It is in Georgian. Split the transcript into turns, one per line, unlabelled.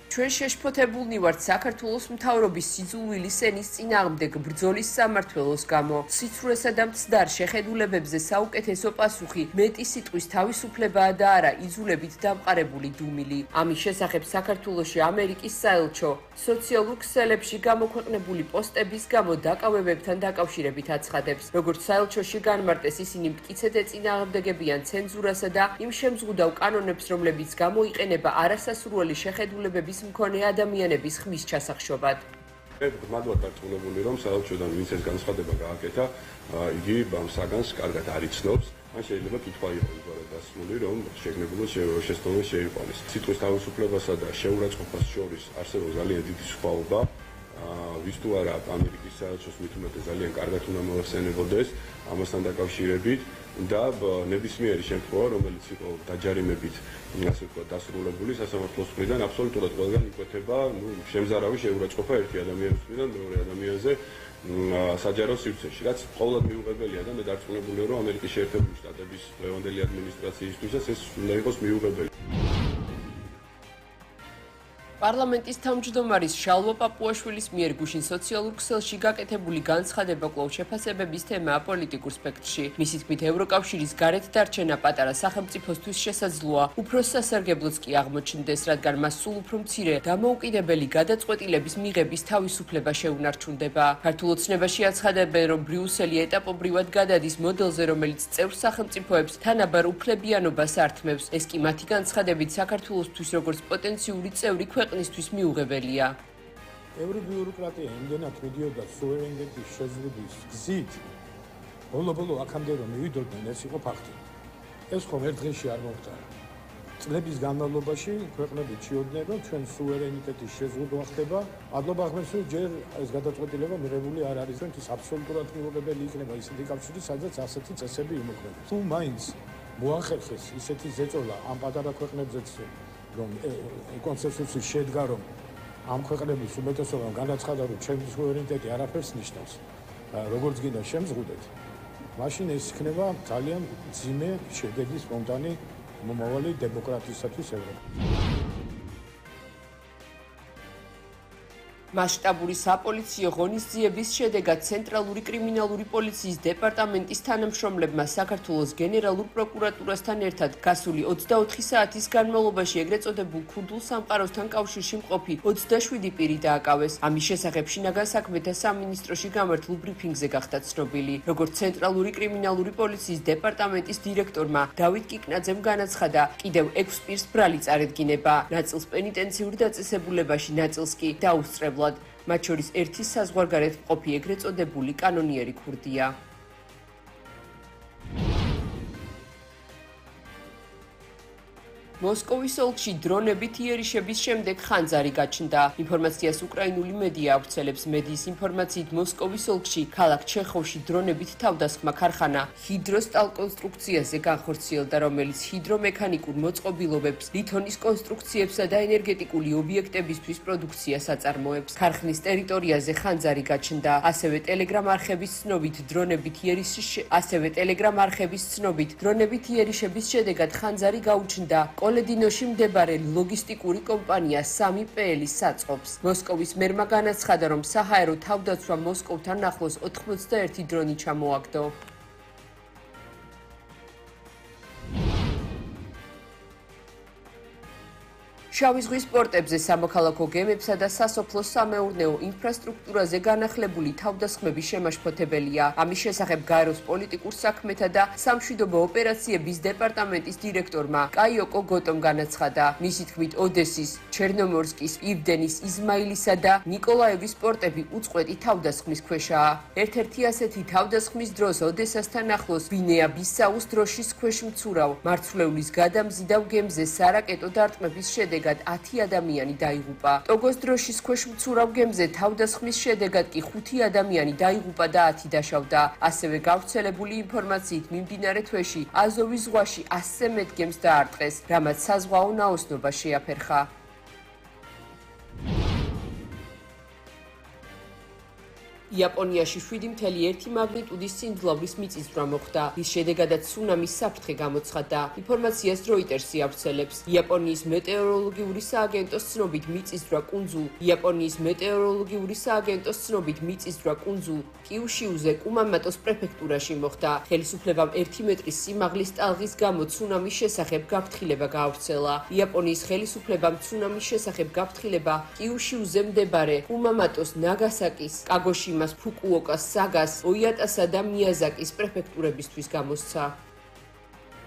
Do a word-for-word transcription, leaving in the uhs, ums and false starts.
ჩვენ შეშფოთებულნი ვართ საქართველოს მთავრობის სიძულვილი სენის წინააღმდეგ ბრძოლის სამმართველოს გამო. სიცრუესა და მცდარ შეხედულებებზე საუკეთესო პასუხი მეტი სიტყვის თავისუფლებაა და არა იძულებით დამყარებული დუმილი. ამის შესახებ საქართველოში ამერიკის საელჩო სოციალურ ქსელებში გამოქვეყნებული პოსტების გამო დაკავებებთან დაკავშირებით აცხადებს. როგორც საელჩოში განმარტეს, ისინი მტკიცედ ეწინააღმდეგებიან ცენზურასა და იმ შემზღუდავ კანონებს, რომლებიც გამოიყენება არასასურველი შეხედულებების მქონე ადამიანების ხმის ჩასახშობად.
გმადლობთ დარწმუნებული, რომ საელჩოდან ვინც ეს განცხადება გააკეთა, იგი ამ საგანს კარგად არ იცნობს. ან შეიძლება კითხვა იყოს უბრალოდ დასმული, რომ შეგნებულად შესწავლილ შეიყვანეს. სიტყვის თავისუფლებასა და შეურაცხყოფას შორის არსებობს ძალიან დიდი სხვაობა. ვის თუ არა ამერიკის საელჩოს მით უმეტეს ძალიან კარგად უნდა მოახსენებოდეს ამასთან დაკავშირებით და ნებისმიერი შემთხვევა, რომელიც იყო დაჯარიმებით, ასე ვთქვათ, დასრულებული სასამართლოს მხრიდან, აბსოლუტურად ყველგან იკვეთება, ნუ შემზარავი შეურაცხყოფა ერთი ადამიანის მხრიდან მეორე ადამიანზე საჯარო სივრცეში, რაც ყოველად მიუღებელია და მე დარწმუნებულია, რომ ამერიკის შეერთებული შტატების დღევანდელი ადმინისტრაციისთვისაც ეს უნდა იყოს მიუღებელი.
პარლამენტის თავმჯდომარის შალვა პაპუაშვილის მიერ გუშინ სოციალურ ქსელში გაკეთებული განცხადება კვლავ შეფასებების თემაა პოლიტიკურ სპექტრში. მისი თქმით, ევროკავშირის გარეთ დარჩენა პატარა სახელმწიფოსთვის შესაძლოა, უფრო სასარგებლოც კი აღმოჩნდეს, რადგან მას სულ უფრო მცირე დამოუკიდებელი გადაწყვეტილების მიღების თავისუფლება შეუნარჩუნდება. ქართულ ოცნებაში აცხადებენ, რომ ბრიუსელი ეტაპობრივად გადადის მოდელზე, რომელიც წევრ სახელმწიფოებს თანაბარ უფლებიანობას ართმევს. ეს კი მათი განცხადებით საქართველოსთვის როგორც პოტენციური წევრი ქვეყნისთვის მიუღებელია.
Every bureaucratia იმდენად მიდიოდა სუვერენიტეტის შეზღუდვის გზით, ბოლო-ბოლო აქამდე რომ მივიდოდნენ, ეს იყო ფაქტი. ეს ხომ ერთ დღეში არ მომხდარა. წლების განმავლობაში ქვეყნები ჩიოდნენ, რომ ჩვენ სუვერენიტეტის შეზღუდვა ხდება, მადლობა ახმებს, რომ ჯერ ეს გადაწყვეტილება მიღებული არ არის, რომ ის აბსოლუტურად მიუღებელი იქნება ისეთი კავშირი, სადაც ასეთი წესები იმოქმედებს. თუ მაინც მოახერხეს ისეთი ზეწოლა ამ პატარა ქვეყნებზეც, რომ კონსენსუსი შედგა, რომ ამ ქვეყნების უმეტესობამ განაცხადა, რომ ჩემი სუვერენიტეტი არაფერს ნიშნავს, როგორც გინდა შემზღუდეთ, მაშინ ეს იქნება ძალიან მძიმე შედეგის მომდანი მომავალი დემოკრატიისათვის ევროპაში.
მასშტაბური საპოლიციო ღონისძიების შედეგად ცენტრალური კრიმინალური პოლიციის დეპარტამენტის თანამშრომლებმა საქართველოს გენერალურ პროკურატურასთან ერთად გასული ოცდაოთხი საათის განმავლობაში ეგრეთ წოდებულ ქურდულ სამყაროსთან კავშირში მყოფი ოცდაშვიდი პირი დააკავეს. ამის შესახებ შინაგან საქმეთა სამინისტროში გამართულ ბრიფინგზე გახდა ცნობილი. როგორც ცენტრალური კრიმინალური პოლიციის დეპარტამენტის დირექტორმა დავით კიკნაძემ განაცხადა, კიდევ ექვს პირს ბრალი წარედგინება, ნაწილს პენიტენციურ დაწესებულებაში, ნაწილს კი დაუსწრებლად. მათ შორის ერთი საზღვარგარეთ მყოფი ეგრეთ წოდებული კანონიერი ქურდია. მოსკოვის ოლქში დრონებით იერიშების შემდეგ ხანძარი გაჩნდა. ინფორმაციას უკრაინული მედია ავრცელებს. მედიის ინფორმაციით მოსკოვის ოლქში ქალაქ ჩეხოვში დრონებით თავდასხმა ქარხანა ჰიდროსტალ კონსტრუქციაზე განხორციელდა, რომელიც ჰიდრომექანიკურ მოწყობილობებს, ლითონის კონსტრუქციებსა და ენერგეტიკული ობიექტებისთვის პროდუქციას აწარმოებს. ქარხნის ტერიტორიაზე ხანძარი გაჩნდა. ასევე ტელეგრამ არხების ცნობით დრონებით იერიშის ასევე ტელეგრამ არხების ცნობით დრონებით იერიშების შედეგად ხანძარი გაუჩნდა კოლედინოში მდებარე ლოგისტიკური კომპანია სამი პეელის საწყობს. მოსკოვის მერმა განაცხადა, რომ საჰაერო თავდაცვა მოსკოვთან ახლოს ოთხმოცდაერთი დრონი ჩამოაგდო. შავი ზღვის პორტებზე სამოქალაქო გემებსა და სასოფლო-სამეურნეო ინფრასტრუქტურაზე განახლებული თავდასხმები შემაშფოთებელია. ამის შესახებ გაეროს პოლიტიკურ საქმეთა და სამშვიდობო ოპერაციების დეპარტამენტის დირექტორმა კაიოკო გოტომ განაცხადა. მისი თქმით, ოდესის, ჩერნომორსკის, ივდენის, იზმაილისა და ნიკოლაევის პორტები უწყვეტი თავდასხმის ქვეშაა. ერთ-ერთი ასეთი თავდასხმის დროს ოდესასთან ახლოს გვინეა-ბისაუს დროშის ქვეშ მცურავ მარცვლეულის გადამზიდავ გემზე სარაკეტო დარტყმების შედეგად ათი ადამიანი დაიღუპა. ტოგოს დროშის ქვეშ მცურავ გემზე თავდასხმის შედეგად კი ხუთი ადამიანი დაიღუპა და ათი დაშავდა. ასევე გავრცელებული ინფორმაციით მიმდინარე თვეში აზოვის ზღვაში ასზე მეტ გემს დაარტყეს, რამაც საზღვაო ნაოსნობა შეაფერხა. იაპონიაში შვიდი მთელი ერთი მაგნიტუდის სიმძლავრის მიწისძვრა მოხდა, რის შედეგადაც ცუნამის საფრთხე გამოცხადდა. ინფორმაციას როიტერსი ავრცელებს. იაპონიის მეტეოროლოგიური სააგენტოს ცნობით მიწისძვრა კუნძულ იაპონიის მეტეოროლოგიური სააგენტოს ცნობით მიწისძვრა კუნძულ კიუშიუზე კუმამატოს პრეფექტურაში მოხდა. ხელისუფლებამ ერთი მეტრის სიმაღლის ტალღის გამო ცუნამის შესახებ გაფრთხილება გაავრცელა. იაპონიის ხელისუფლებამ ცუნამის შესახებ გაფრთხილება კიუშიუზე მდებარე კუმამატოს, ნაგასაკის, კაგოშიმას, ფუკუოკას, საგას, ოიატასა და მიაზაკის პრეფექტურებისთვის გამოსცა.